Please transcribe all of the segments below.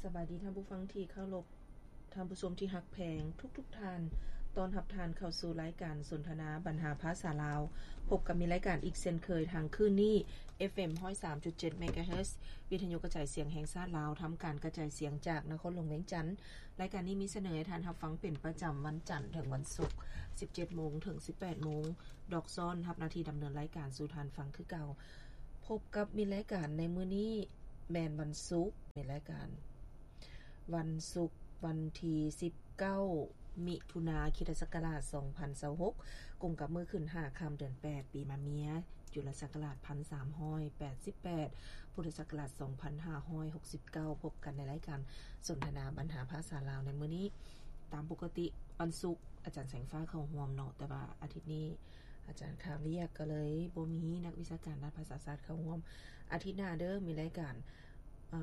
ສະບາຍດີທ່ານຜູ້ຟັງທີ່ເຄົາລົບ, ທ່ານຜູ້ຊົມທີ່ຮັກແພງທຸກໆທ່ານ, ຕ້ອນຮັບທ່ານເຂົ້າສູ່ລາຍການສົນທະນາບັນຫາພາສາລາວ. ພົບກັບມີລາຍການອີກເຊັ່ນເຄີຍທາງຄື້ນນີ້ ເອັຟເອັມ ຮ້ອຍສາມຈຸດເຈັດ ເມກາເຮີດ ວິທະຍຸກະຈາຍສຽງແຫ່ງຊາດລາວ, ທຳການກະຈາຍສຽງຈາກນະຄອນຫຼວງວຽງຈັນ. ລາຍການນີ້ມີສະເໜີໃຫ້ທ່ານຮັບຟັງເປັນປະຈຳວັນຈັນເຖິງວັນສຸກ ສິບເຈັດໂມງເຖິງສິບແປດໂມງ. ດອກຊ້ອນຮັບໜ້າທີ່ດຳເນີນລາຍການສູ່ທ່ານຟັງຄືເກົ່າ. ພົບກັບມີລາຍການໃນມື້ນີ້ແມ່ນວັນສຸກ, ມີລາຍການວັນສຸກ ວັນທີສິບເກົ້າ ມິຖຸນາ ຄຣິສຕະສັກກະລາດສອງພັນຊາວຫົກ ກົງກັບມື້ຂຶ້ນຫ້າຄ່ຳເດືອນແປດ ປີມະເມຍ ຈຸລະສັກກະລາດພັນສາມຮ້ອຍແປດສິບແປດ ພຸດທະສັກກະລາດສອງພັນຫ້າຮ້ອຍຫົກສິບເກົ້າ. ພົບກັນໃນລາຍການສົນທະນາບັນຫາພາສາລາວໃນມື້ນີ້. ຕາມປົກກະຕິວັນສຸກ ອາຈານແສງຟ້າເຂົ້າຮ່ວມເນາະ, ແຕ່ວ່າອາທິດນີ້ອາຈານຄາວຽກ ກໍເລີຍບໍ່ມີນັກວິຊາການດ້ານພາສາສາດເຂົ້າຮ່ວມ. ອາທິດໜ້າເດີ ມີລາຍການ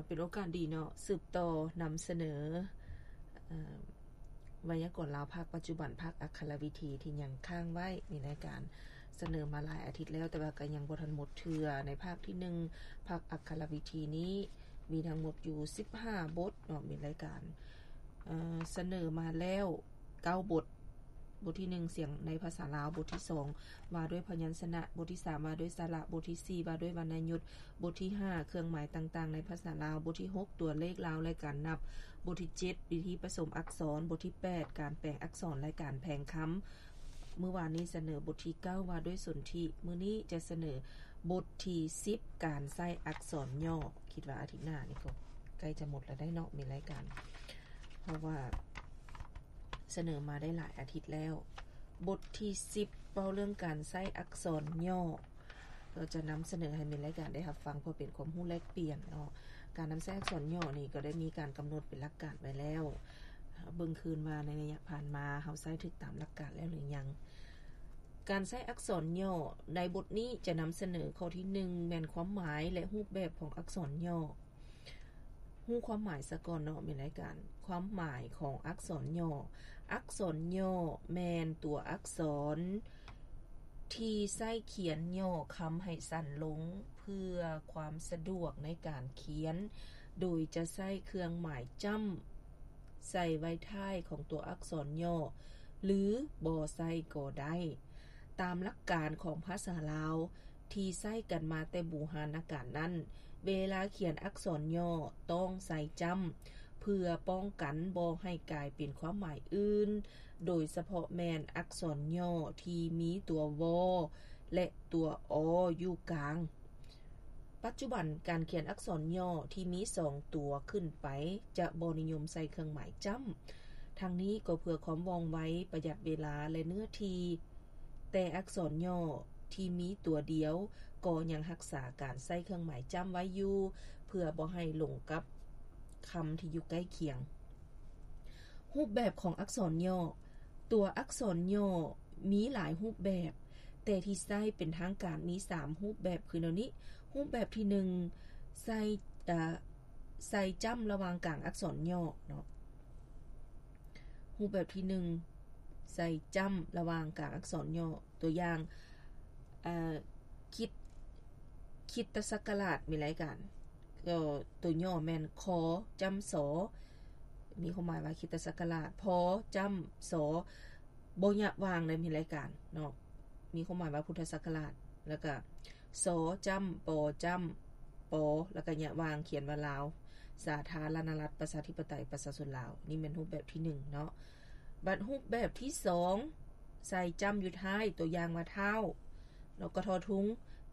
ເປັນໂອກາດດີເນາະ ສືບຕໍ່ນຳສະເໜີ ເອີ ໄວຍາກອນລາວພາກປັດຈຸບັນ ພາກອັກຂະລະວິທີທີ່ຍັງຄ້າງໄວ້. ມີລາຍການສະເໜີມາຫຼາຍອາທິດແລ້ວ ແຕ່ວ່າກໍຍັງບໍ່ທັນໝົດເທື່ອ. ໃນພາກທີໜຶ່ງ ພາກອັກຂະລະວິທີນີ້ມີທັງໝົດຢູ່ສິບຫ້າບົດເນາະ, ມີລາຍການ ເອີ ສະເໜີມາແລ້ວເກົ້າບົດ. ບົດທີໜຶ່ງ ສຽງໃນພາສາລາວ, ບົດທີສອງ ວ່າດ້ວຍພະຍັນຊະນະ, ບົດທີສາມ ວ່າດ້ວຍສະຫຼະ, ບົດທີສີ່ ວ່າດ້ວຍວັນນະຍຸດ, ບົດທີຫ້າ ເຄື່ອງໝາຍຕ່າງໆໃນພາສາລາວ, ບົດທີຫົກ ຕົວເລກລາວ ແລະ ການນັບ, ບົດທີເຈັດ ວິທີປະສົມອັກສອນ, ບົດທີແປດ ການແປງອັກສອນ ແລະ ການແພງຄຳ. ມື້ວານນີ້ສະເໜີບົດທີເກົ້າ ວ່າດ້ວຍສົນທິ, ມື້ນີ້ຈະສະເໜີບົດທີສິບ ການໃຊ້ອັກສອນຫຍໍ້. ຄິດວ່າອາທິດໜ້ານີ້ກໍໃກ້ຈະໝົດແລ້ວໄດ໋ເນາະ, ມີລາຍການ ເພາະວ່າ ສະເໜີມາໄດ້ຫຼາຍອາທິດແລ້ວ. ບົດທີສິບ ເວົ້າເລື່ອງການໃຊ້ອັກສອນຫຍໍ້, ກໍຈະນຳສະເໜີໃຫ້ແມ່ນລາຍການໄດ້ຮັບຟັງ ເພື່ອເປັນຄວາມຮູ້ແລກປ່ຽນເນາະ. ການນຳໃຊ້ອັກສອນຫຍໍ້ນີ້ ກໍໄດ້ມີການກຳນົດເປັນຫຼັກການໄວ້ແລ້ວ. ເບິ່ງຄືນວ່າໃນໄລຍະຜ່ານມາ ເຮົາໃຊ້ຖືກຕາມຫຼັກການແລ້ວຫຼືຍັງ. ການໃຊ້ອັກສອນຫຍໍ້ໃນບົດນີ້ຈະນຳສະເໜີຂໍ້ທີໜຶ່ງ ແມ່ນຄວາມໝາຍ ແລະ ຮູບແບບຂອງອັກສອນຫຍໍ້. ຮູ້ຄວາມໝາຍສາກ່ອນເນາະ ແມ່ນລາຍການ. ຄວາມໝາຍຂອງອັກສອນຫຍໍ້. ອັກສອນຫຍໍ້ແມ່ນຕົວອັກສອນທີ່ໃຊ້ຂຽນຫຍໍ້ຄຳໃຫ້ສັ້ນລົງ ເພື່ອຄວາມສະດວກໃນການຂຽນ, ໂດຍຈະໃຊ້ເຄື່ອງໝາຍຈ້ຳໃສ່ໄວ້ທ້າຍຂອງຕົວອັກສອນຫຍໍ້ ຫຼື ບໍ່ໃສ່ກໍໄດ້. ຕາມຫຼັກການຂອງພາສາລາວ ທີ່ໃຊ້ກັນມາແຕ່ບູຮານນະການນັ້ນ, ເວລາຂຽນອັກສອນຫຍໍ້ຕ້ອງໃສ່ຈ້ຳ ເພື່ອປ້ອງກັນບໍ່ໃຫ້ກາຍເປັນຄວາມໝາຍອື່ນ, ໂດຍສະເພາະແມ່ນອັກສອນຫຍໍ້ທີ່ມີຕົວ ວ ແລະ ຕົວ ອ ຢູ່ກາງ. ປັດຈຸບັນ, ການຂຽນອັກສອນຫຍໍ້ທີ່ມີສອງຕົວຂຶ້ນໄປຈະບໍ່ນິຍົມໃສ່ເຄື່ອງໝາຍຈ້ຳ. ທັງນີ້ກໍເພື່ອຄວາມວ່ອງໄວ, ປະຢັດເວລາ ແລະ ເນື້ອທີ່. ແຕ່ອັກສອນຫຍໍ້ທີ່ມີຕົວດຽວກໍຍັງຮັກສາການໃຊ້ເຄື່ອງໝາຍຈ້ຳໄວ້ຢູ່ ເພື່ອບໍ່ໃຫ້ຫຼົງກັບຄຳທີ່ຢູ່ໃກ້ຄຽງ. ຮູບແບບຂອງອັກສອນຫຍໍ້. ຕົວອັກສອນຫຍໍ້ມີຫຼາຍຮູບແບບ, ແຕ່ທີ່ໃຊ້ເປັນທາງການມີສາມຮູບແບບຄືແນວນີ້. ຮູບແບບທີໜຶ່ງ ໃສ່ ເອີ ໃສ່ຈ້ຳລະຫວ່າງກາງອັກສອນຫຍໍ້ເນາະ. ຮູບແບບທີໜຶ່ງ ໃສ່ຈ້ຳລະຫວ່າງກາງອັກສອນຫຍໍ້. ຕົວຢ່າງ ເອີ ຄຣິດ ຄຣິດຕະສັກກະລາດ ມີລາຍການ ກໍຕົວຫຍໍ້ແມ່ນ ຄ ຈ້ຳ ສ ມີຄວາມໝາຍວ່າຄຣິດຕະສັກກະລາດ, ພ ຈ້ຳ ສ ບໍ່ຍະຫວ່າງໃນມີລາຍການເນາະ, ມີຄວາມໝາຍວ່າພຸດທະສັກກະລາດ, ແລ້ວກະ ສ ຈ້ຳ ປ ຈ້ຳ ປ ແລ້ວກະຍະຫວ່າງຂຽນວ່າລາວ ສາທາລະນະລັດ ປະຊາທິປະໄຕ ປະຊາຊົນລາວ. ນີ້ແມ່ນຮູບແບບທີໜຶ່ງເນາະ. ບັດຮູບແບບທີສອງ ໃສ່ຈ້ຳຢູ່ທ້າຍ, ຕົວຢ່າງວ່າ ທ້າວ ແລ້ວກໍ ທໍທຸງ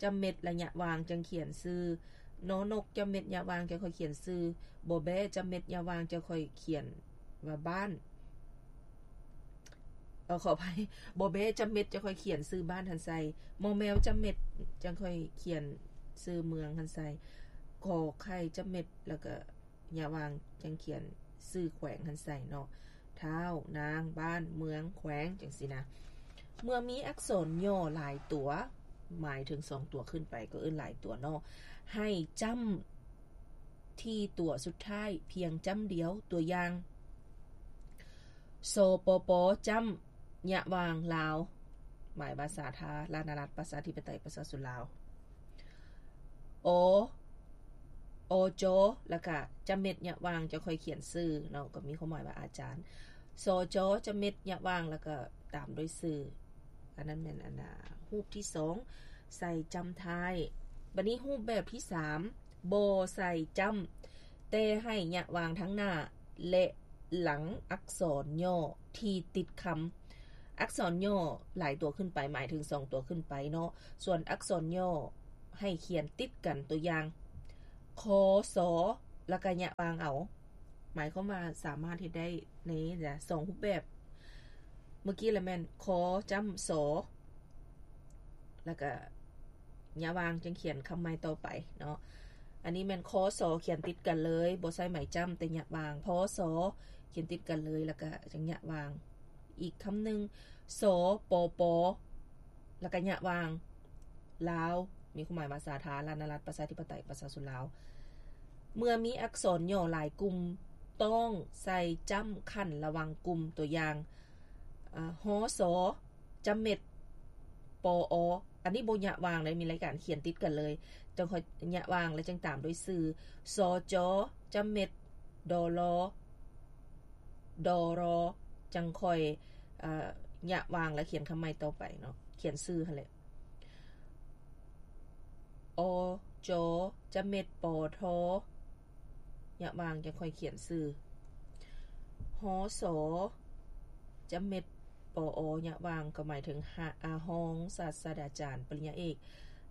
ຈ້ຳເມັດ ລະຍະຫວ່າງ ຈັ່ງຂຽນຊື່, ນ ນົກ ຈ້ຳເມັດ ຍະຫວ່າງ ຈັ່ງຄ່ອຍຂຽນຊື່, ບໍ່ແບ້ ຈ້ຳເມັດ ຍະຫວ່າງ ຈັ່ງຄ່ອຍຂຽນວ່າບ້ານ. ເອີ ຂໍອະໄພ, ບໍ່ແບ້ຈ້ຳເມັດ ຈັ່ງຄ່ອຍຂຽນຊື່ບ້ານຫັ້ນໃສ່, ມໍແມວຈ້ຳເມັດ ຈັ່ງຄ່ອຍຂຽນຊື່ເມືອງຫັ້ນໃສ່, ຂໍໄຂ່ຈ້ຳເມັດ ແລ້ວກະຍະຫວ່າງ ຈັ່ງຂຽນຊື່ແຂວງຫັ້ນໃສ່ເນາະ, ທ້າວ ນາງ ບ້ານ ເມືອງ ແຂວງ ຈັ່ງຊີ້ນະ. ເມື່ອມີອັກສອນຫຍໍ້ຫຼາຍຕົວ, ໝາຍເຖິງສອງຕົວຂຶ້ນໄປກໍເອີ້ນຫຼາຍຕົວເນາະ, ໃຫ້ຈ້ຳ ທີ່ຕົວສຸດທ້າຍພຽງຈ້ຳດຽວ. ຕົວຢ່າງ ສ ປ ປ ຈ້ຳ ຍະຫວ່າງ ລາວ ໝາຍວ່າສາທາລະນະລັດ ປະຊາທິປະໄຕ ປະຊາຊົນລາວ, ອ ອ ຈ ແລ້ວກະຈະເມັດ ຍະຫວ່າງ ຈະຄ່ອຍຂຽນຊື່ເນາະ ກໍມີຄວາມໝາຍວ່າອາຈານ ສ ຈ ຈະເມັດ ຍະຫວ່າງ ແລ້ວກະຕາມດ້ວຍຊື່. ອັນນັ້ນແມ່ນອັນນ່າ ຮູບທີສອງ ໃສ່ຈ້ຳທ້າຍ. ບັດນີ້ຮູບແບບທີສາມ ບໍ່ໃສ່ຈ້ຳ ແຕ່ໃຫ້ຍະຫວ່າງທັງໜ້າ ແລະ ຫຼັງອັກສອນຫຍໍ້ທີ່ຕິດຄຳ. ອັກສອນຫຍໍ້ຫຼາຍຕົວຂຶ້ນໄປ ໝາຍເຖິງສອງຕົວຂຶ້ນໄປເນາະ. ສ່ວນອັກສອນຫຍໍ້ໃຫ້ຂຽນຕິດກັນ. ຕົວຢ່າງ ຄ ສ ແລ້ວກະຍະຫວ່າງເອົາ. ໝາຍຄວາມວ່າສາມາດເຮັດໄດ້ໃນສອງຮູບແບບ. ເມື່ອກີ້ລະແມ່ນ ຄ ຈ້ຳ ສ ແລ້ວກະຍະຫວ່າງ ຈຶ່ງຂຽນຄຳໃໝ່ຕໍ່ໄປເນາະ. ອັນນີ້ແມ່ນ ຄ ສ ຂຽນຕິດກັນເລີຍ ບໍ່ໃສ່ໄມ້ຈ້ຳ ແຕ່ຍະຫວ່າງ ພ ສ ຂຽນຕິດກັນເລີຍ ແລ້ວກະຈັ່ງຍະຫວ່າງ. ອີກຄຳໜຶ່ງ ສ ປ ປ ແລ້ວກະຍະຫວ່າງ ລາວ ມີຄວາມໝາຍວ່າສາທາລະນະລັດ ປະຊາທິປະໄຕ ປະຊາຊົນລາວ. ເມື່ອມີອັກສອນຫຍໍ້ຫຼາຍກຸ່ມ ຕ້ອງໃສ່ຈ້ຳຂັ້ນລະຫວ່າງກຸ່ມ. ຕົວຢ່າງ ອາ ຮ ສ ຈະເມັດ ປ ອ ອັນນີ້ບໍ່ຍະຫວ່າງເລີຍ ມີລາຍການຂຽນຕິດກັນເລີຍ ຈັ່ງຄ່ອຍຍະຫວ່າງ ແລະ ຈຶ່ງຕາມດ້ວຍຊື່ ສ ຈ ຈະເມັດ ດ ລ ດ ຣ ຈັ່ງຄ່ອຍ ອາ ຍະຫວ່າງ ແລະ ຂຽນຄຳໃໝ່ຕໍ່ໄປເນາະ ຂຽນຊື່ຫັ້ນແຫຼະ. ອ ຈ ຈະເມັດ ປ ທ ຍະຫວ່າງ ຈັ່ງຄ່ອຍຂຽນຊື່ ຮ ສ ຈະເມັດ ປ ອ ຍະຫວ່າງ ກໍໝາຍເຖິງ ຮ ອາ ຮອງສາດສະດາຈານປະລິນຍາເອກ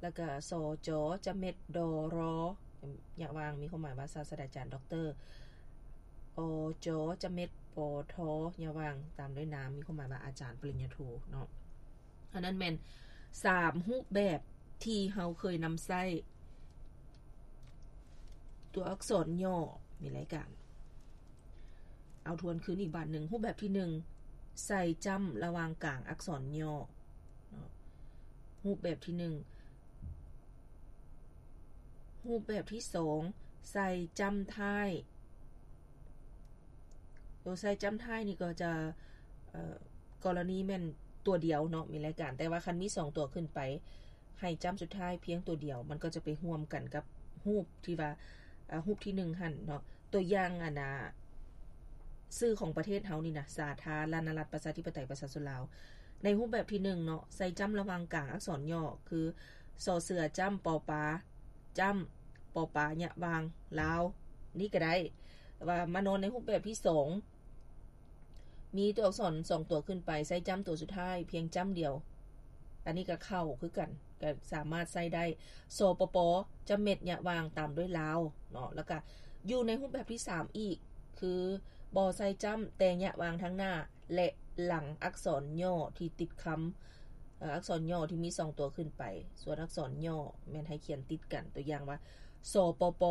ແລ້ວກະ ສ ຈ ຈະເມັດ ດ ຣ ຍະຫວ່າງ ມີຄວາມໝາຍວ່າສາດສະດາຈານ ດັອກເຕີ ອ ຈ ຈະເມັດ ປ ທ ຍະຫວ່າງ ຕາມດ້ວຍນາມ ມີຄວາມໝາຍວ່າອາຈານປະລິນຍາໂທເນາະ. ອັນນັ້ນແມ່ນສາມຮູບແບບທີ່ເຮົາເຄີຍນຳໃຊ້ຕົວອັກສອນຫຍໍ້ໃນລາຍການ. ເອົາທວນຄືນອີກບາດໜຶ່ງ. ຮູບແບບທີໜຶ່ງ ໃສ່ຈ້ຳລະຫວ່າງກາງອັກສອນຫຍໍ້ເນາະ. ຮູບແບບທີໜຶ່ງ. ຮູບແບບທີສອງ ໃສ່ຈ້ຳທ້າຍ. ໂຕໃສ່ຈ້ຳທ້າຍນີ້ກໍຈະ ເອີ ກໍລະນີແມ່ນຕົວດຽວເນາະ ມີລາຍການ ແຕ່ວ່າຄັນມີສອງຕົວຂຶ້ນໄປ ໃຫ້ຈ້ຳສຸດທ້າຍພຽງຕົວດຽວ ມັນກໍຈະໄປຮ່ວມກັນກັບຮູບທີ່ວ່າ ເອີ ຮູບທີໜຶ່ງຫັ້ນເນາະ. ຕົວຢ່າງ ອັນນ່າ ຊື່ຂອງປະເທດເຮົານີ້ນະ ສາທາລະນະລັດ ປະຊາທິປະໄຕ ປະຊາຊົນລາວ. ໃນຮູບແບບທີໜຶ່ງເນາະ ໃສ່ຈ້ຳລະຫວ່າງກາງອັກສອນຫຍໍ້ ຄື ສ ເສືອ ຈ້ຳ ປ ປາ ຈ້ຳ ປ ປາ ຍະຫວ່າງ ລາວ ນີ້ກໍໄດ້. ແຕ່ວ່າມານອນໃນຮູບແບບທີສອງ ມີຕົວອັກສອນສອງຕົວຂຶ້ນໄປ ໃສ່ຈ້ຳຕົວສຸດທ້າຍພຽງຈ້ຳດຽວ ອັນນີ້ກໍເຂົ້າຄືກັນ ກໍສາມາດໃຊ້ໄດ້ ສ ປ ປ ຈ້ຳເມັດ ຍະຫວ່າງ ຕາມດ້ວຍລາວເນາະ. ແລ້ວກໍຢູ່ໃນຮູບແບບທີສາມອີກ ຄື ບໍ່ໃສ່ຈ້ຳ ແຕ່ຍະຫວ່າງທາງໜ້າ ແລະ ຫຼັງອັກສອນຫຍໍ້ທີ່ຕິດຄຳ ເອີ ອັກສອນຫຍໍ້ທີ່ມີສອງຕົວຂຶ້ນໄປ ສ່ວນອັກສອນຫຍໍ້ແມ່ນໃຫ້ຂຽນຕິດກັນ. ຕົວຢ່າງວ່າ ສ ປ ປ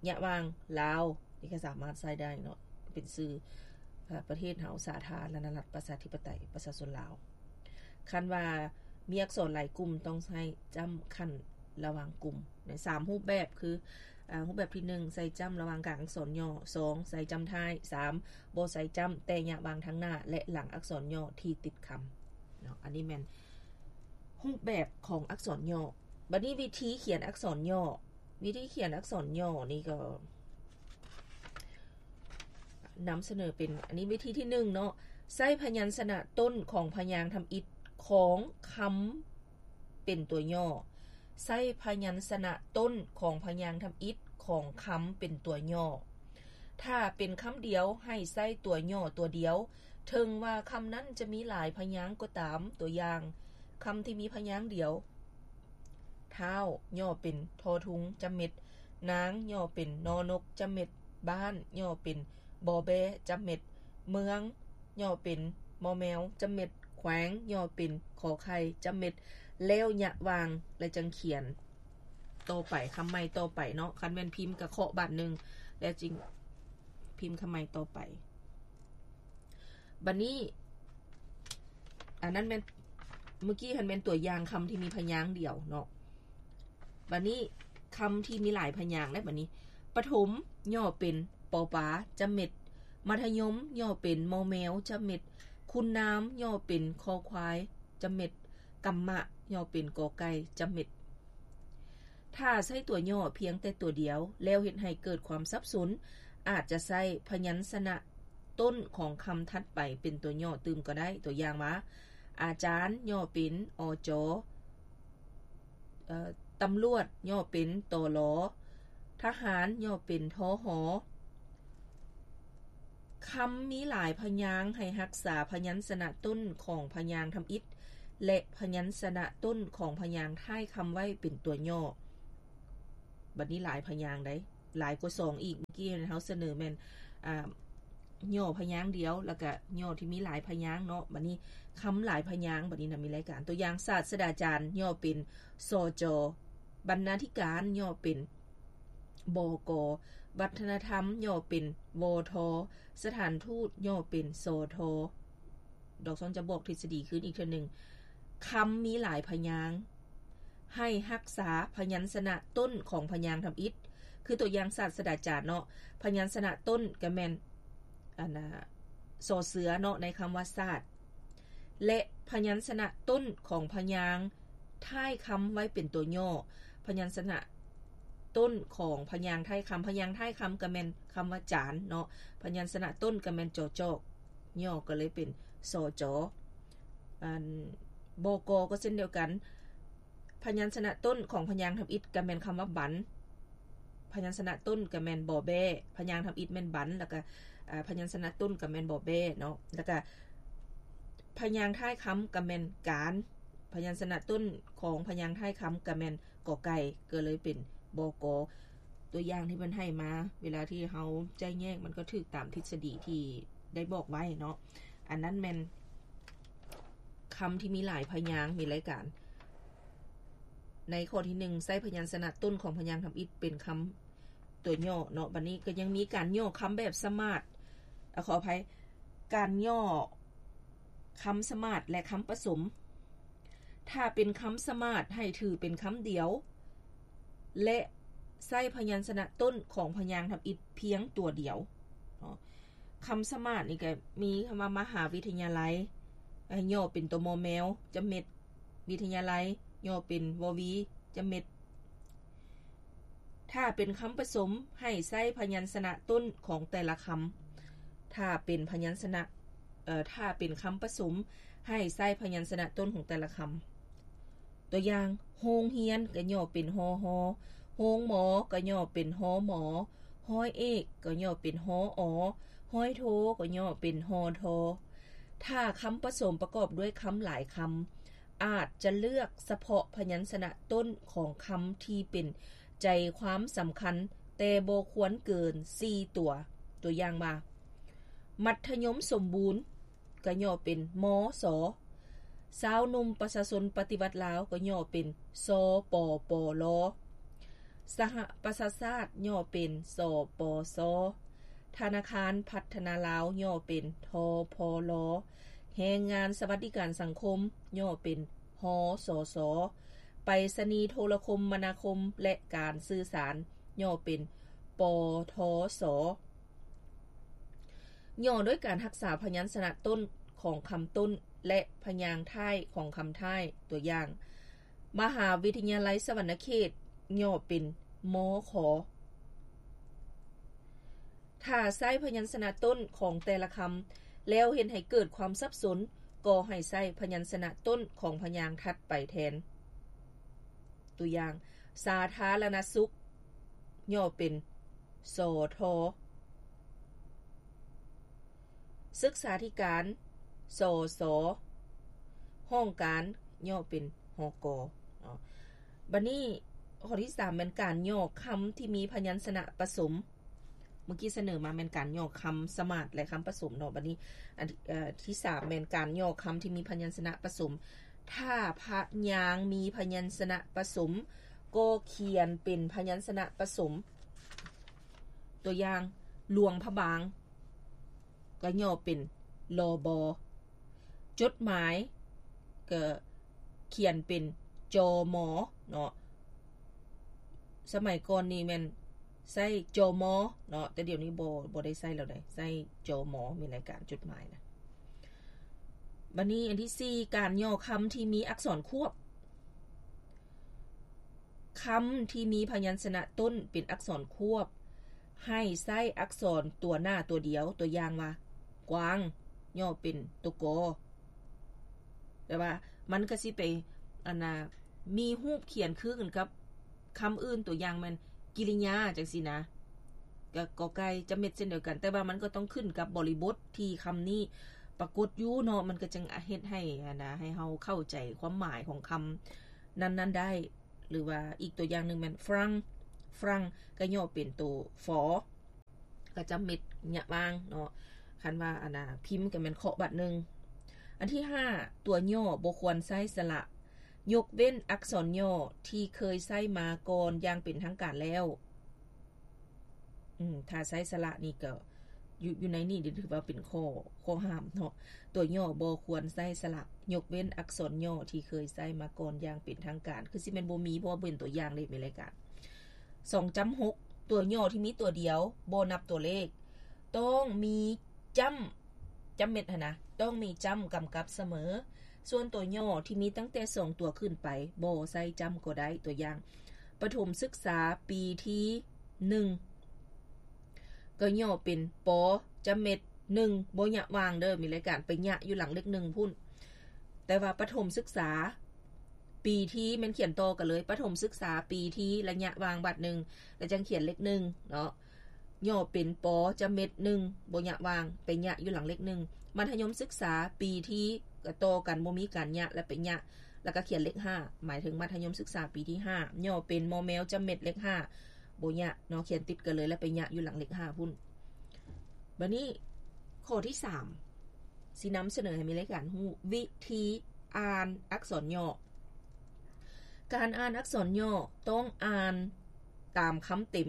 ຍະຫວ່າງ ລາວ ນີ້ກໍສາມາດໃຊ້ໄດ້ເນາະ ເປັນຊື່ ເອີ ປະເທດເຮົາ ສາທາລະນະລັດ ປະຊາທິປະໄຕ ປະຊາຊົນລາວ. ຄັນວ່າມີອັກສອນຫຼາຍກຸ່ມ ຕ້ອງໃຊ້ຈ້ຳຂັ້ນລະຫວ່າງກຸ່ມ ໃນສາມຮູບແບບ ຄື ອາ ຮູບແບບທີໜຶ່ງ ໃສ່ຈ້ຳລະຫວ່າງກາງອັກສອນຫຍໍ້, ສອງ ໃສ່ຈ້ຳທ້າຍ, ສາມ ບໍ່ໃສ່ຈ້ຳ ແຕ່ຍະຫວ່າງທາງໜ້າ ແລະ ຫຼັງອັກສອນຫຍໍ້ທີ່ຕິດຄຳເນາະ. ອັນນີ້ແມ່ນຮູບແບບຂອງອັກສອນຫຍໍ້. ບັດນີ້ວິທີຂຽນອັກສອນຫຍໍ້, ວິທີຂຽນອັກສອນຫຍໍ້ນີ້ກໍນຳສະເໜີເປັນ ອັນນີ້ວິທີທີໜຶ່ງເນາະ, ໃຊ້ພະຍັນຊະນະຕົ້ນຂອງພະຍາງທຳອິດຂອງຄຳ ເປັນຕົວຫຍໍ້. ໃຊ້ພະຍັນຊະນະຕົ້ນຂອງພະຍາງທຳອິດຂອງຄຳເປັນຕົວຫຍໍ້. ຖ້າເປັນຄຳດຽວ ໃຫ້ໃຊ້ຕົວຫຍໍ້ຕົວດຽວ, ເຖິງວ່າຄຳນັ້ນຈະມີຫຼາຍພະຍາງກໍຕາມ. ຕົວຢ່າງ, ຄຳທີ່ມີພະຍາງດຽວ, ທ້າວ ຫຍໍ້ເປັນ ທໍທຸງ ຈຳເມັດ, ນາງ ຫຍໍ້ເປັນ ນໍນົກ ຈຳເມັດ, ບ້ານ ຫຍໍ້ເປັນ ປໍແບ ຈຳເມັດ, ເມືອງ ຫຍໍ້ເປັນ ມໍແມວ ຈຳເມັດ, ແຂວງ ຫຍໍ້ເປັນ ຂໍໄຂ່ ຈຳເມັດ, ແລ້ວຍະຫວ່າງ ແລະ ຈັ່ງຂຽນຕໍ່ໄປ ຄຳໃໝ່ຕໍ່ໄປເນາະ. ຄັນແມ່ນພິມກະເຄາະບາດໜຶ່ງ ແລ້ວຈຶ່ງພິມຄຳໃໝ່ຕໍ່ໄປ. ບັດນີ້ ອັນນັ້ນແມ່ນ ເມື່ອກີ້ຫັ້ນແມ່ນຕົວຢ່າງຄຳທີ່ມີພະຍາງດຽວເນາະ. ບັດນີ້ຄຳທີ່ມີຫຼາຍພະຍາງແລ້ວ. ບັດນີ້ ປະຖົມ ຫຍໍ້ເປັນ ປໍປາ ຈຳເມັດ, ມັດທະຍົມ ຫຍໍ້ເປັນ ມໍແມວ ຈຳເມັດ, ຄຸນນາມ ຫຍໍ້ເປັນ ຄໍຄວາຍ ຈຳເມັດ, ກຳມະ ຫຍໍ້ເປັນ ກໍໄກ່ ຈຳເມັດ. ຖ້າໃຊ້ຕົວຫຍໍ້ພຽງແຕ່ຕົວດຽວ ແລ້ວເຮັດໃຫ້ເກີດຄວາມສັບສົນ, ອາດຈະໃຊ້ພະຍັນຊະນະຕົ້ນຂອງຄຳຖັດໄປເປັນຕົວຫຍໍ້ຕື່ມກໍໄດ້. ຕົວຢ່າງວ່າ ອາຈານ ຫຍໍ້ເປັນ ອຈ, ເອີ ຕຳຫຼວດ ຫຍໍ້ເປັນ ຕລ, ທະຫານ ຫຍໍ້ເປັນ ທຫ. ຄຳມີຫຼາຍພະຍາງໃຫ້ຮັກສາພະຍັນຊະນະຕົ້ນຂອງພະຍາງທຳອິດ ແລະ ພະຍັນຊະນະຕົ້ນຂອງພະຍາງທ້າຍຄຳໄວ້ເປັນຕົວຫຍໍ້. ບັດນີ້ຫຼາຍພະຍາງໃດ໋ ຫຼາຍກວ່າສອງອີກ. ເມື່ອກີ້ເຮົາສະເໜີແມ່ນ ອາ ຫຍໍ້ພະຍາງດຽວ ແລ້ວກະຫຍໍ້ທີ່ມີຫຼາຍພະຍາງເນາະ. ບັດນີ້ຄຳຫຼາຍພະຍາງ ບັດນີ້ນະມີຫຼາຍການ. ຕົວຢ່າງ ສາດສະດາຈານ ຫຍໍ້ເປັນ ສຈ, ບັນນາທິການ ຫຍໍ້ເປັນ ບກ, ວັດທະນະທຳ ຫຍໍ້ເປັນ ວທ, ສະຖານທູດ ຫຍໍ້ເປັນ ສທ. ດອກຊອນຈະບອກທິດສະດີຄືນອີກເທື່ອໜຶ່ງ. ຄຳມີຫຼາຍພະຍາງ ໃຫ້ຮັກສາພະຍັນຊະນະຕົ້ນຂອງພະຍາງທຳອິດ. ຄືຕົວຢ່າງສາດສະດາຈານເນາະ, ພະຍັນຊະນະຕົ້ນກະແມ່ນ ອັນນາ ສໍເສືອເນາະ ໃນຄຳວ່າສາດ ແລະ ພະຍັນຊະນະຕົ້ນຂອງພະຍາງທ້າຍຄຳໄວ້ເປັນຕົວຫຍໍ້. ພະຍັນຊະນະຕົ້ນຂອງພະຍາງທ້າຍຄຳ, ພະຍາງທ້າຍຄຳກະແມ່ນຄຳວ່າຈານເນາະ, ພະຍັນຊະນະຕົ້ນກະແມ່ນ ຈຈ, ຫຍໍ້ກະເລີຍເປັນ ສຈ. ອັນ ບກ ກໍເຊັ່ນດຽວກັນ, ພະຍັນຊະນະຕົ້ນຂອງພະຍາງທຳອິດກະແມ່ນຄຳວ່າບັນ, ພະຍັນຊະນະຕົ້ນກະແມ່ນ ບແບ້, ພະຍາງທຳອິດແມ່ນບັນ ແລ້ວກະ ອາ ພະຍັນຊະນະຕົ້ນກະແມ່ນ ບແບ້ເນາະ, ແລ້ວກະພະຍາງທ້າຍຄຳກະແມ່ນການ, ພະຍັນຊະນະຕົ້ນຂອງພະຍາງທ້າຍຄຳກະແມ່ນ ກໄກ່ ກະເລີຍເປັນ ບກ. ຕົວຢ່າງທີ່ເພິ່ນໃຫ້ມາ ເວລາທີ່ເຮົາໄຈ້ແຍກ ມັນກໍຖືກຕາມທິດສະດີທີ່ໄດ້ບອກໄວ້ເນາະ. ອັນນັ້ນແມ່ນຄຳທີ່ມີຫຼາຍພະຍາງ ມີຫຼາຍການ. ໃນຂໍ້ທີໜຶ່ງ ໃຊ້ພະຍັນຊະນະຕົ້ນຂອງພະຍາງທຳອິດເປັນຄຳຕົວຫຍໍ້ເນາະ. ບັດນີ້ກໍຍັງມີການຫຍໍ້ຄຳແບບສະໝາດ, ອາ ຂໍອະໄພ, ການຫຍໍ້ຄຳສະໝາດ ແລະ ຄຳປະສົມ. ຖ້າເປັນຄຳສະໝາດ ໃຫ້ຖືເປັນຄຳດຽວ ແລະ ໃຊ້ພະຍັນຊະນະຕົ້ນຂອງພະຍາງທຳອິດພຽງຕົວດຽວເນາະ. ຄຳສະໝາດນີ້ກໍມີຄຳວ່າ ມະຫາວິທະຍາໄລ ຫຍໍ້ເປັນ ຕມ ແມວ ຈະເມັດ, ວິທະຍາໄລ ຫຍໍ້ເປັນ ວ ວີ ຈະເມັດ. ຖ້າເປັນຄຳປະສົມ ໃຫ້ໃຊ້ພະຍັນຊະນະຕົ້ນຂອງແຕ່ລະຄຳ. ຖ້າເປັນພະຍັນຊະນະ, ເອີ, ຖ້າເປັນຄຳປະສົມ ໃຫ້ໃຊ້ພະຍັນຊະນະຕົ້ນຂອງແຕ່ລະຄຳ. ຕົວຢ່າງ, ໂຮງຮຽນ ກໍຫຍໍ້ເປັນ ຮຮ, ໂຮງໝໍ ກໍຫຍໍ້ເປັນ ຮມ, ຮ້ອຍເອກ ກໍຫຍໍ້ເປັນ ຮອ, ຮ້ອຍໂທ ກໍຫຍໍ້ເປັນ ຮທ. ຖ້າຄຳປະສົມປະກອບດ້ວຍຄຳຫຼາຍຄຳ, ອາດຈະເລືອກສະເພາະພະຍັນຊະນະຕົ້ນຂອງຄຳທີ່ເປັນໃຈຄວາມສຳຄັນ, ແຕ່ບໍ່ຄວນເກີນສີ່ຕົວ. ຕົວຢ່າງວ່າ, ມັດທະຍົມສົມບູນ ກໍຫຍໍ້ເປັນ ມສ, ຊາວໜຸ່ມປະຊາຊົນປະຕິວັດລາວ ກໍຫຍໍ້ເປັນ ສປປລ, ສະຫະປະຊາຊາດ ຫຍໍ້ເປັນ ສປຊ, ທະນາຄານພັດທະນາລາວ ຫຍໍ້ເປັນ ທພລ, ແຮງງານສະຫວັດດີການສັງຄົມ ຫຍໍ້ເປັນ ຮສສ, ໄປສະນີໂທລະຄົມມະນາຄົມ ແລະ ການສື່ສານ ຫຍໍ້ເປັນ ປທສ. ຫຍໍ້ໂດຍການຮັກສາພະຍັນຊະນະຕົ້ນຂອງຄຳຕົ້ນ ແລະ ພະຍາງທ້າຍຂອງຄຳທ້າຍ. ຕົວຢ່າງ, ມະຫາວິທະຍາໄລສະຫວັນນະເຂດ ຫຍໍ້ເປັນ ມຂ. ຖ້າໃຊ້ພະຍັນຊະນະຕົ້ນຂອງແຕ່ລະຄຳ ແລ້ວເຮັດໃຫ້ເກີດຄວາມສັບສົນ, ກໍໃຫ້ໃຊ້ພະຍັນຊະນະຕົ້ນຂອງພະຍາງຖັດໄປແທນ. ຕົວຢ່າງ, ສາທາລະນະສຸກ ຫຍໍ້ເປັນ ສທ, ສຶກສາທິການ ສສ, ຫ້ອງການ ຫຍໍ້ເປັນ ຫກ ເນາະ. ບັດນີ້ ຂໍ້ທີສາມ ແມ່ນການຫຍໍ້ຄຳທີ່ມີພະຍັນຊະນະປະສົມ. ເມື່ອກີ້ສະເໜີມາແມ່ນການຫຍໍ້ຄຳສະໝາດ ແລະ ຄຳປະສົມເນາະ. ບັດນີ້ ອັນ ເອີ ທີສາມ ແມ່ນການຫຍໍ້ຄຳທີ່ມີພະຍັນຊະນະປະສົມ. ຖ້າພະຍາງມີພະຍັນຊະນະປະສົມ ກໍຂຽນເປັນພະຍັນຊະນະປະສົມ. ຕົວຢ່າງ, ຫຼວງພະບາງ ກໍຫຍໍ້ເປັນ ລບ, ຈົດໝາຍ ກໍຂຽນເປັນ ຈມ ເນາະ. ສະໄໝກ່ອນນີ້ແມ່ນໃຊ້ ຈມ ເນາະ, ແຕ່ດຽວນີ້ບໍ່ ບໍ່ໄດ້ໃຊ້ແລ້ວໃດ໋, ໃຊ້ ຈມ ມີລາຍການຈົດໝາຍນະ. ບັດນີ້ອັນທີສີ່ ການຫຍໍ້ຄຳທີ່ມີອັກສອນຄວບ. ຄຳທີ່ມີພະຍັນຊະນະຕົ້ນເປັນອັກສອນຄວບ ໃຫ້ໃຊ້ອັກສອນຕົວໜ້າຕົວດຽວ, ຕົວຢ່າງວ່າ ກວາງ ຫຍໍ້ເປັນຕົວ ກ. ແຕ່ວ່າມັນກໍຊິໄປ ອັນນ່າ ມີຮູບຂຽນຄືກັນກັບຄຳອື່ນ, ຕົວຢ່າງແມ່ນ ກິລິຍາ ຈັ່ງຊີ້ນະ, ກໍ ກ.ໄກ່ ຈະເມັດ ເຊັ່ນດຽວກັນ, ແຕ່ວ່າມັນກໍຕ້ອງຂຶ້ນກັບບໍລິບົດທີ່ຄຳນີ້ປາກົດຢູ່ເນາະ, ມັນກໍຈຶ່ງເຮັດໃຫ້ ອັນນ່າ ໃຫ້ເຮົາເຂົ້າໃຈຄວາມໝາຍຂອງຄຳນັ້ນໆໄດ້. ຫຼືວ່າອີກຕົວຢ່າງໜຶ່ງແມ່ນ ຝຣັ່ງ ຝຣັ່ງ ກໍຫຍໍ້ເປັນໂຕ ຝ ກໍຈະເມັດ ຍະຫວ່າງເນາະ, ຄັນວ່າ ອັນນ່າ ພິມກໍແມ່ນເຄາະບາດໜຶ່ງ. ອັນທີຫ້າ ຕົວຫຍໍ້ບໍ່ຄວນໃຊ້ສະຫຼະ ຍົກເວັ້ນອັກສອນຫຍໍ້ທີ່ເຄີຍໃຊ້ມາກ່ອນຢ່າງເປັນທາງການແລ້ວ. ອືມ ຖ້າໃຊ້ສະຫຼະນີ້ກໍ ຢູ່ ຢູ່ໃນນີ້ຖືວ່າເປັນຂໍ້ ຂໍ້ຫ້າມເນາະ, ຕົວຫຍໍ້ບໍ່ຄວນໃຊ້ສະຫຼະ ຍົກເວັ້ນອັກສອນຫຍໍ້ທີ່ເຄີຍໃຊ້ມາກ່ອນຢ່າງເປັນທາງການ, ຄືຊິແມ່ນບໍ່ມີ ເພາະວ່າເປັນຕົວຢ່າງເດ້ ມີລາຍການ. ສອງຈ້ຳຫົກ ຕົວຫຍໍ້ທີ່ມີຕົວດຽວ ບໍ່ນັບຕົວເລກ ຕ້ອງມີຈ້ຳ ຈ້ຳເມັດຫັ້ນນະ ຕ້ອງມີຈ້ຳກຳກັບສະເໝີ, ສ່ວນຕົວຫຍໍ້ທີ່ມີຕັ້ງແຕ່ສອງຕົວຂຶ້ນໄປ ບໍ່ໃສ່ຈ້ຳກໍໄດ້. ຕົວຢ່າງ ປະຖົມສຶກສາປີທີໜຶ່ງ ກໍຫຍໍ້ເປັນ ປ ຈະເມັດ ໜຶ່ງ ບໍ່ຍະຫວ່າງເດີ ມີລາຍການ ໄປຍະຢູ່ຫຼັງເລກໜຶ່ງພຸ້ນ. ແຕ່ວ່າປະຖົມສຶກສາປີທີ ແມ່ນຂຽນຕໍ່ກັນເລີຍ ປະຖົມສຶກສາປີທີ ລະຍະຫວ່າງບາດໜຶ່ງ ລະຈັ່ງຂຽນເລກໜຶ່ງເນາະ, ຫຍໍ້ເປັນ ປ ຈະເມັດ ໜຶ່ງ ບໍ່ຍະຫວ່າງ ໄປຍະຢູ່ຫຼັງເລກໜຶ່ງ. ມັດທະຍົມສຶກສາປີທີ ກໍຕໍ່ກັນ ບໍ່ມີການຍະ ລະໄປຍະ ລະກະຂຽນເລກຫ້າ ໝາຍເຖິງມັດທະຍົມສຶກສາປີທີຫ້າ ຫຍໍ້ເປັນ ມ ແມວ ຈະເມັດ ເລກຫ້າ ບໍ່ຍະເນາະ, ຂຽນຕິດກັນເລີຍ ລະໄປຍະຢູ່ຫຼັງເລກຫ້າພຸ້ນ. ບາດນີ້ ຂໍ້ທີສາມ ຊິນຳສະເໜີໃຫ້ມີລາຍການຮູ້ ວິທີອ່ານອັກສອນຫຍໍ້. ການອ່ານອັກສອນຫຍໍ້ຕ້ອງອ່ານຕາມຄຳເຕັມ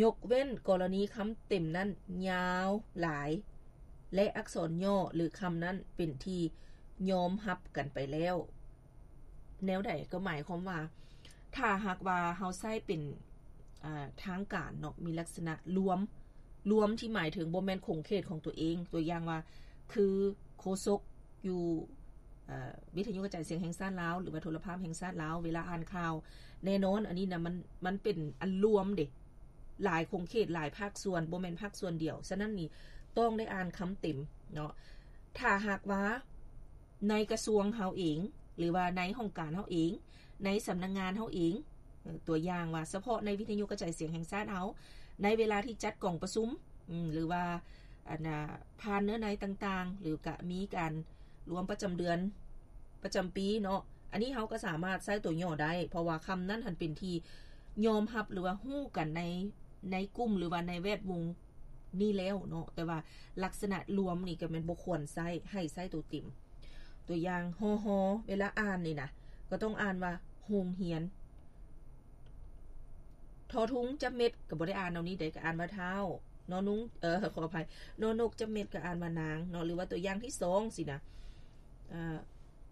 ຍົກເວັ້ນກໍລະນີຄຳເຕັມນັ້ນຍາວຫຼາຍ ແລະ ອັກສອນຫຍໍ້ ຫຼື ຄຳນັ້ນເປັນທີ່ຍອມຮັບກັນໄປແລ້ວ. ແນວໃດ? ກໍໝາຍຄວາມວ່າ ຖ້າຫາກວ່າເຮົາໃຊ້ເປັນ ອ່າ ທາງການເນາະ ມີລັກສະນະລວມ ລວມທີ່ໝາຍເຖິງບໍ່ແມ່ນຂົງເຂດຂອງຕົວເອງ, ຕົວຢ່າງວ່າ ຄືໂຄສົກຢູ່ ເອີ ວິທະຍຸກະຈາຍສຽງແຫ່ງຊາດລາວ ຫຼືວ່າໂທລະພາບແຫ່ງຊາດລາວ ເວລາອ່ານຂ່າວ ແນ່ນອນ ອັນນີ້ນະ ມັນ ມັນເປັນອັນລວມເດ້ ຫຼາຍຂົງເຂດ ຫຼາຍພາກສ່ວນ ບໍ່ແມ່ນພາກສ່ວນດຽວ. ສະນັ້ນນີ້ ຕ້ອງໄດ້ອ່ານຄຳເຕັມເນາະ. ຖ້າຫາກວ່າໃນກະຊວງເຮົາເອງ ຫຼືວ່າໃນຫ້ອງການເຮົາເອງ ໃນສຳນັກງານເຮົາເອງ, ເອີ ຕົວຢ່າງວ່າ ສະເພາະໃນວິທະຍຸກະຈາຍສຽງແຫ່ງຊາດເຮົາ ໃນເວລາທີ່ຈັດກອງປະຊຸມ ອືມ ຫຼືວ່າ ອັນນ່າ ຜ່ານເນື້ອໃນຕ່າງໆ ຫຼືກະມີການລວມປະຈຳເດືອນ ປະຈຳປີເນາະ, ອັນນີ້ເຮົາກໍສາມາດໃຊ້ຕົວຫຍໍ້ໄດ້ ເພາະວ່າຄຳນັ້ນຫັ້ນເປັນທີ່ຍອມຮັບ ຫຼືວ່າຮູ້ກັນໃນ ໃນກຸ່ມ ຫຼືວ່າໃນແວດວົງນີ້ແລ້ວເນາະ, ແຕ່ວ່າລັກສະນະລວມນີ້ກໍແມ່ນບໍ່ຄວນໃຊ້ ໃຫ້ໃຊ້ຕົວເຕັມ. ຕົວຢ່າງ ຮ ຮ ເວລາອ່ານນີ້ນະ ກໍຕ້ອງອ່ານວ່າ ໂຮງຮຽນ. ທໍທຸງ ຈະເມັດ ກໍບໍ່ໄດ້ອ່ານເອົານີ້ເດ້ ກໍອ່ານວ່າ ທ້າວ. ນອນຸງ ເອີ ຂໍອະໄພ ນອນົກ ຈະເມັດ ກໍອ່ານວ່າ ນາງ ເນາະ, ຫຼືວ່າຕົວຢ່າງທີສອງ ຊີ້ນະ ອາ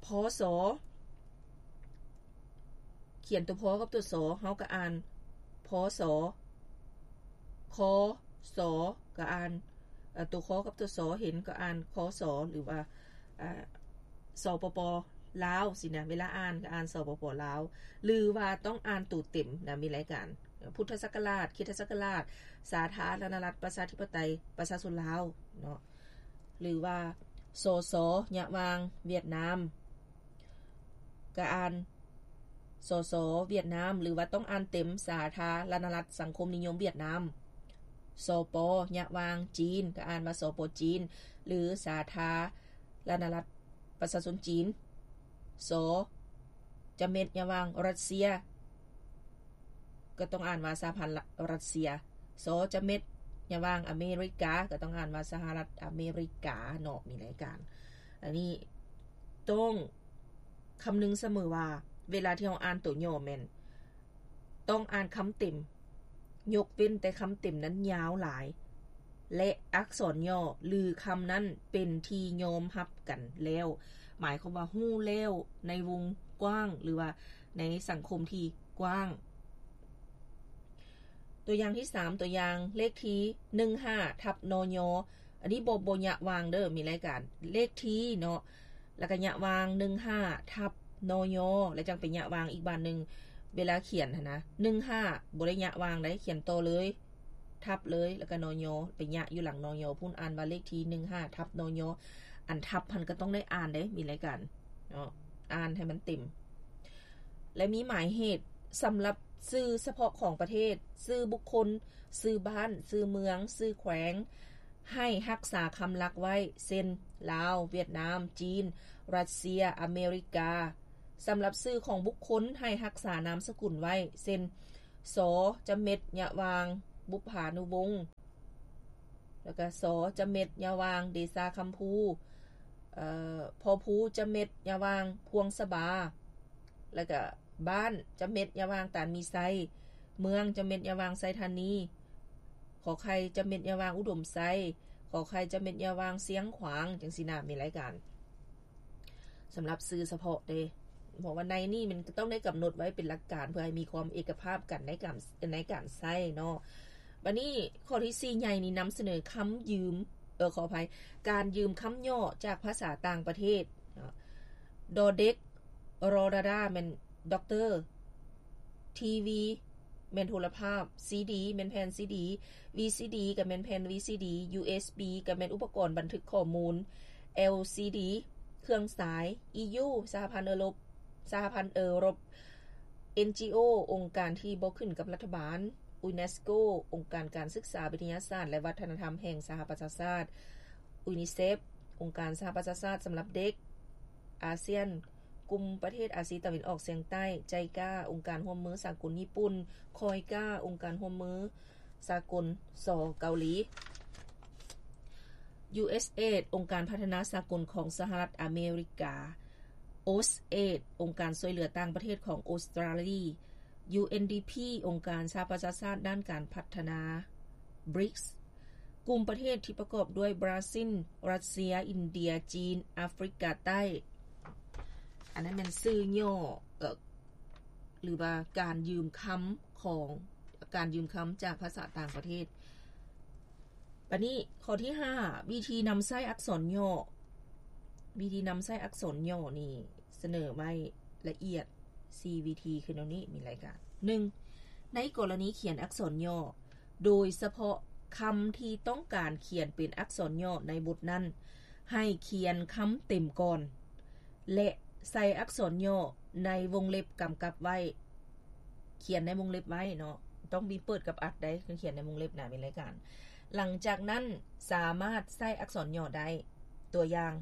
ພ ສ ຂຽນໂຕ ພ ກັບໂຕ ສ ເຮົາກໍອ່ານ ພ ສ, ຄ ສ ກໍອ່ານ ເອີ ໂຕ ຄ ກັບໂຕ ສ ເຫັນກໍອ່ານ ຄ ສ ຫຼືວ່າ ອາ ສປປ ລາວ ຊີ້ນະ, ເວລາອ່ານກໍອ່ານ ສປປ ລາວ ຫຼືວ່າຕ້ອງອ່ານໂຕເຕັມນະ, ມີລາຍການ ພຸດທະສັກກະລາດ, ຄຣິສຕະສັກກະລາດ, ສາທາລະນະລັດ ປະຊາທິປະໄຕ ປະຊາຊົນລາວເນາະ, ຫຼືວ່າ ສສ ຍະຫວ່າງ ຫວຽດນາມ ກໍອ່ານ ສສ ຫວຽດນາມ ຫຼືວ່າຕ້ອງອ່ານເຕັມ ສາທາລະນະລັດສັງຄົມນິຍົມຫວຽດນາມ, ສປ ຍະຫວ່າງ ຈີນ ກໍອ່ານວ່າ ສປ ຈີນ ຫຼື ສາທາລະນະລັດປະຊາຊົນຈີນ, ສ ຈະເມັດ ຍະຫວ່າງ ຣັດເຊຍ ກໍຕ້ອງອ່ານວ່າ ສະຫະພັນຣັດເຊຍ, ສ ຈະເມັດ ຍະຫວ່າງ ອາເມລິກາ ກໍຕ້ອງອ່ານວ່າ ສະຫະລັດອາເມລິກາເນາະ, ມີລາຍການ ອັນນີ້ຕ້ອງ ຄຳນຶງສະເໝີວ່າ ເວລາທີ່ເຮົາອ່ານໂຕຫຍໍ້ແມ່ນຕ້ອງອ່ານຄຳເຕັມ, ຍົກເວັ້ນແຕ່ຄຳເຕັມນັ້ນຍາວຫຼາຍ ແລະ ອັກສອນຫຍໍ້ ຫຼື ຄຳນັ້ນເປັນທີ່ຍອມຮັບກັນແລ້ວ, ໝາຍຄວາມວ່າຮູ້ແລ້ວໃນວົງກວ້າງ ຫຼືວ່າໃນສັງຄົມທີ່ກວ້າງ. ຕົວຢ່າງທີສາມ ຕົວຢ່າງເລກທີໜຶ່ງຫ້າ ທັບ ນຍ, ອັນນີ້ບໍ່ ບໍ່ຍະຫວ່າງເດີ, ມີລາຍການເລກທີເນາະ ແລ້ວກໍຍະຫວ່າງ ໜຶ່ງຫ້າ ທັບ ນຍ ແລ້ວຈັ່ງໄປຍະຫວ່າງອີກບາດໜຶ່ງ ເວລາຂຽນຫັ້ນນະ ໜຶ່ງຫ້າ ບໍ່ໄດ້ຍະຫວ່າງໃດ ຂຽນຕໍ່ເລີຍ ທັບເລີຍ ແລ້ວກໍ ນຍ ໄປຍະຢູ່ຫຼັງ ນຍ ພຸ້ນ ອ່ານວ່າເລກທີ ໜຶ່ງຫ້າ ທັບ ນຍ ອັນທັບຫັ້ນກໍຕ້ອງໄດ້ອ່ານເດ້ ມີລາຍການເນາະ ອ່ານໃຫ້ມັນເຕັມ. ແລະ ມີໝາຍເຫດສຳລັບຊື່ສະເພາະຂອງປະເທດ, ຊື່ບຸກຄົນ, ຊື່ບ້ານ, ຊື່ເມືອງ, ຊື່ແຂວງ ໃຫ້ຮັກສາຄຳຫຼັກໄວ້ ເຊັ່ນ ລາວ, ຫວຽດນາມ, ຈີນ, ຣັດເຊຍ, ອາເມລິກາ. ສຳລັບຊື່ຂອງບຸກຄົນ ໃຫ້ຮັກສານາມສະກຸນໄວ້ ເຊັ່ນ ສ ຈະເມັດ ຍະຫວ່າງ ບຸບພານຸວົງ ແລ້ວກະ ສ ຈະເມັດ ຍະຫວ່າງ ເດຊາຄຳພູ, ເອີ ພໍພູ ຈະເມັດ ຍະຫວ່າງ ພວງສະບາ ແລ້ວກະ ບ້ານ ຈະເມັດ ຍະຫວ່າງ ຕານມີໄຊ, ເມືອງ ຈະເມັດ ຍະຫວ່າງ ໄຊທານີ, ຂໍໄຂ່ ຈະເມັດ ຍະຫວ່າງ ອຸດົມໄຊ, ຂໍໄຂ່ ຈະເມັດ ຍະຫວ່າງ ຊຽງຂວາງ ຈັ່ງຊີ້ນະ ມີລາຍການ ສຳລັບຊື່ສະເພາະເດ້ ເພາະວ່າໃນນີ້ມັນກໍຕ້ອງໄດ້ກຳນົດໄວ້ເປັນຫຼັກການ ເພື່ອໃຫ້ມີຄວາມເອກະພາບກັນໃນການ ໃນການໃຊ້ເນາະ. ບັດນີ້ຂໍ້ທີສີ່ໃຫຍ່ນີ້ນຳສະເໜີຄຳຢືມ ເອີ ຂໍອະໄພ ການຢືມຄຳຫຍໍ້ຈາກພາສາຕ່າງປະເທດເນາະ. ດອເດັກ ຣໍດາດາ ແມ່ນດັອກເຕີ, ທີວີ ແມ່ນໂທລະພາບ, ຊີດີ ແມ່ນແຜ່ນຊີດີ, ວີຊີດີ ກໍແມ່ນແຜ່ນວີຊີດີ, ຢູເອສບີ ກໍແມ່ນອຸປະກອນບັນທຶກຂໍ້ມູນ, ແອລຊີດີ ເຄື່ອງສາຍ, ອີຢູ ສະຫະພັນເອີຣົບ ສະຫະພັນເອີຣົບ, ເອັນຈີໂອ ອົງການທີ່ບໍ່ຂຶ້ນກັບລັດຖະບານ, ຢູເນສໂກ ອົງການການສຶກສາ, ວິທະຍາສາດ ແລະ ວັດທະນະທຳແຫ່ງສະຫະປະຊາຊາດ, ຢູນິເຊັບ ອົງການສະຫະປະຊາຊາດສຳລັບເດັກ, ອາຊຽນ ກຸ່ມປະເທດອາຊີຕາເວັນອອກສຽງໃຕ້, ໄຈກາ ອົງການຮ່ວມມືສາກົນຍີ່ປຸ່ນ, ຄອຍກາ ອົງການຮ່ວມມືສາກົນ ສ ເກົາຫຼີ, ຢູເອສເອດ ອົງການພັດທະນາສາກົນຂອງສະຫະລັດອາເມລິກາ, ໂອສເອດ ອົງການຊ່ວຍເຫຼືອຕ່າງປະເທດຂອງອົດສະຕຣາລີ, ຢູເອັນດີພີ ອົງການສະຫະປະຊາຊາດດ້ານການພັດທະນາ, ບຣິກສ໌ ກຸ່ມປະເທດທີ່ປະກອບດ້ວຍບຣາຊິນ, ຣັດເຊຍ, ອິນເດຍ, ຈີນ, ອາຟຣິກາໃຕ້. ອັນນັ້ນແມ່ນຊື່ຫຍໍ້ ເອີ ຫຼືວ່າການຢືມຄຳຂອງ ການຢືມຄຳຈາກພາສາຕ່າງປະເທດ. ບັດນີ້ຂໍ້ທີຫ້າ ວິທີນຳໃຊ້ອັກສອນຫຍໍ້. ວິທີນຳໃຊ້ອັກສອນຫຍໍ້ນີ້ສະເໜີໄວ້ລະອຽດສີ່ວິທີ ຄືແນວນີ້ ມີລາຍການ ໜຶ່ງ ໃນກໍລະນີຂຽນອັກສອນຫຍໍ້ ໂດຍສະເພາະຄຳທີ່ຕ້ອງການຂຽນເປັນອັກສອນຫຍໍ້ໃນບົດນັ້ນ ໃຫ້ຂຽນຄຳເຕັມກ່ອນ ແລະ ໃສ່ອັກສອນຫຍໍ້ໃນວົງເລັບກຳກັບໄວ້. ຂຽນໃນວົງເລັບໄວ້ເນາະ, ຕ້ອງມີເປີດກັບອັດໃດ໋ ຄັນຂຽນໃນວົງເລັບນະ ມີລາຍການ. ຫຼັງຈາກນັ້ນສາມາດໃສ່ອັກສອນຫຍໍ້ໄດ້. ຕົວຢ່າງ,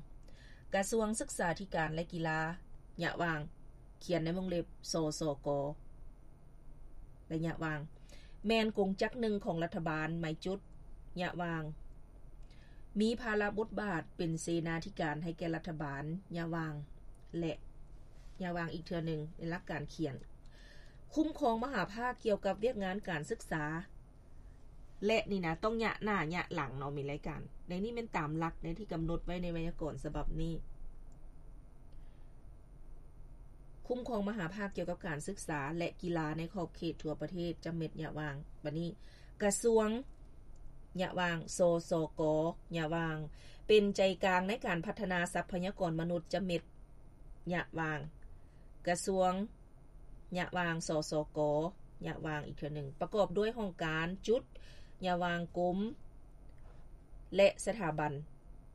ກະຊວງສຶກສາທິການ ແລະ ກິລາ ຍະຫວ່າງ ຂຽນໃນວົງເລັບ ສສກ ໄລຍະວ່າງ ແມ່ນກົງຈັກໜຶ່ງຂອງລັດຖະບານ ໄມຈຸດ ຍະຫວ່າງ ມີພາລະບົດບາດເປັນເສນາທິການໃຫ້ແກ່ລັດຖະບານ ຍະຫວ່າງ ແລະ ຍະຫວ່າງອີກເທື່ອໜຶ່ງ ໃນຫຼັກການຂຽນ ຄຸ້ມຄອງມະຫາພາກກ່ຽວກັບວຽກງານການສຶກສາ ແລະ ນີ້ນະ ຕ້ອງຍະໜ້າຍະຫຼັງເນາະ ມີລາຍການ ໃນນີ້ແມ່ນຕາມຫຼັກໃນທີ່ກຳນົດໄວ້ໃນໄວຍາກອນສະບັບນີ້. ຄຸ້ມຄອງມະຫາພາກກ່ຽວກັບການສຶກສາ ແລະ ກິລາໃນຂອບເຂດທົ່ວປະເທດ ຈະເມັດ ຍະຫວ່າງ ບາດນີ້ ກະຊວງ ຍະຫວ່າງ ສສກ ຍະຫວ່າງ ເປັນໃຈກາງໃນການພັດທະນາຊັບພະຍາກອນມະນຸດ ຈະເມັດ ຍະຫວ່າງ ກະຊວງ ຍະຫວ່າງ ສສກ ຍະຫວ່າງອີກເທື່ອໜຶ່ງ ປະກອບດ້ວຍຫ້ອງການ ຈຸດ ຍະຫວ່າງ ກົມ ແລະ ສະຖາບັນ.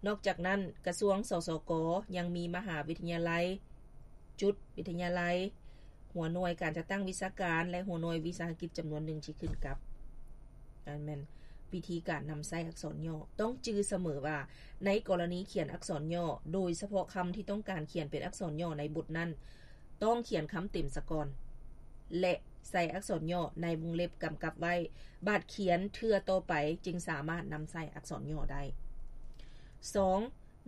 ນອກຈາກນັ້ນ ກະຊວງ ສສກ ຍັງມີມະຫາວິທະຍາໄລ ຈຸດ ວິທະຍາໄລ ຫົວໜ່ວຍການຈັດຕັ້ງວິຊາການ ແລະ ຫົວໜ່ວຍວິສາຫະກິດຈຳນວນໜຶ່ງທີ່ຂຶ້ນກັບ. ອັນແມ່ນວິທີການນຳໃຊ້ອັກສອນຫຍໍ້. ຕ້ອງຈື່ສະເໝີວ່າ ໃນກໍລະນີຂຽນອັກສອນຫຍໍ້ ໂດຍສະເພາະຄຳທີ່ຕ້ອງການຂຽນເປັນອັກສອນຫຍໍ້ໃນບົດນັ້ນ ຕ້ອງຂຽນຄຳເຕັມສາກ່ອນ ແລະ ໃສ່ອັກສອນຫຍໍ້ໃນວົງເລັບກຳກັບໄວ້ ບາດຂຽນເທື່ອຕໍ່ໄປຈຶ່ງສາມາດນຳໃຊ້ອັກສອນຫຍໍ້ໄດ້. ສອງ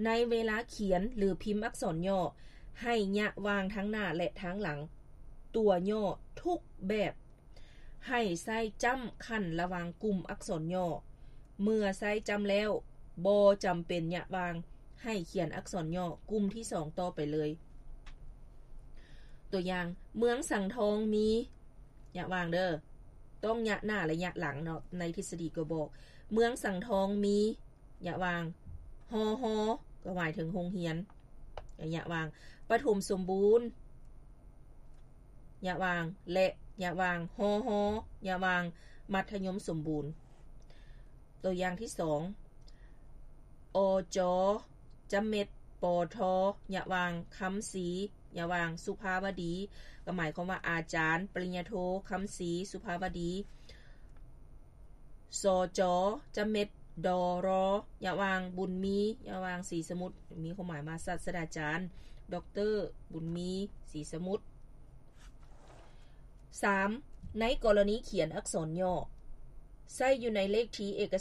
ໃນເວລາຂຽນ ຫຼື ພິມອັກສອນຫຍໍ້ ໃຫ້ຍະຫວ່າງທາງໜ້າ ແລະ ທາງຫຼັງຕົວຫຍໍ້ທຸກແບບ. ໃຫ້ໃຊ້ຈ້ຳຂັ້ນລະຫວ່າງກຸ່ມອັກສອນຫຍໍ້. ເມື່ອໃຊ້ຈ້ຳແລ້ວ ບໍ່ຈຳເປັນຍະຫວ່າງ ໃຫ້ຂຽນອັກສອນຫຍໍ້ກຸ່ມທີສອງຕໍ່ໄປເລີຍ. ຕົວຢ່າງ, ເມືອງສັງທອງມີ ຍະຫວ່າງເດີ, ຕ້ອງຍະໜ້າ ແລະ ຍະຫຼັງເນາະ, ໃນທິດສະດີກໍບອກ, ເມືອງສັງທອງມີ ຍະຫວ່າງ ຮຮ ກໍໝາຍເຖິງໂຮງຮຽນ, ຍະຫວ່າງ ປະຖົມສົມບູນ ຍະຫວ່າງ ແລະ ຍະຫວ່າງ ຮອຮ ຍະຫວ່າງ ມັດທະຍົມສົມບູນ. ຕົວຢ່າງທີສອງ ອຈ ຈະເມັດ ປທ ຍະຫວ່າງ ຄຳສີ ຍະຫວ່າງ ສຸພາວະດີ ກໍໝາຍຄວາມວ່າອາຈານປະລິນຍາໂທ ຄຳສີ ສຸພາວະດີ. ສຈ ຈະເມັດ ດຣ ຍະຫວ່າງ ບຸນມີ ຍະຫວ່າງ ສີສະໝຸດ ມີຄວາມໝາຍວ່າສາດສະດາຈານ ດຣ ບຸນມີ ສີສະໝຸດ. ສາມ ໃນກໍລະນີຂຽນອັກສອນຫຍໍ້ ໃຊ້ຢູ່ໃນເລກທີເອກະ